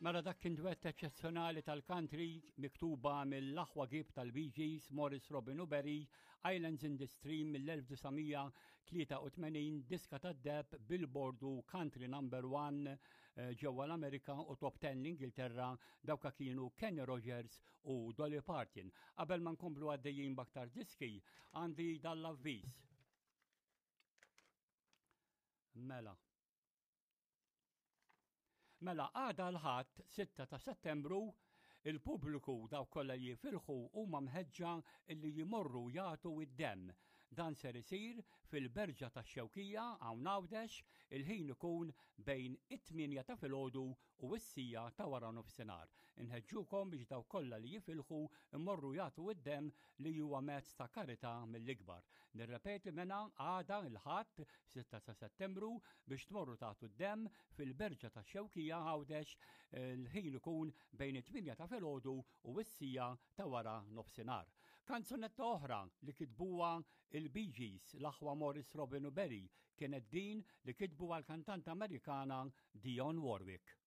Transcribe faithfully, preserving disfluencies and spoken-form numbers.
Mela dak kien duett eċċezzjonali tal-country miktuba mill-aħwa Gibb tal-Bee Gees, Maurice Robin u Barry, Islands in the Stream mill-elf disa' mija tlieta u tmenin, diska tad-deheb Billboard u Country Number One eh, ġewwa l-Amerika u Top ten l-Ingilterra. Dawka kienu Kenny Rogers u Dolly Parton. Qabel ma nkomplu għaddejjin b'aktar diski, għandi dal-avviż. Mela. Mela għada l-Ħadd sitta ta' Settembru, il-pubbliku, dawk kollha li jifilħu, huma mħeġġa illi jmorru jagħtu id-demm. Dan ser isir fil-Berġa tax-Xewkija hawn Għawdex, il-ħin ikun bejn it-tmienja ta' filgħodu u s-siegħa ta' wara nofsinhar. Inħeġġukom biex dawk kollha li jifilħu immorru jagħtu id-demm, li huwa mezz ta' karità mill-ikbar. Nirrepeti mela, għada il-Ħadd sitta ta' Settembru biex tmorru tagħtu d-demm fil-Berġa tax-Xewkija Għawdex, il-ħin ikun bejn it-tmienja ta' filgħodu u s-siegħa ta' wara nofsinhar. Kanzunetta oħra li kitbuha il-Bee Gees, l-aħwa Maurice, Robin u Barry, kienet din li kitbu għal kantanta Amerikana Dionne Warwick.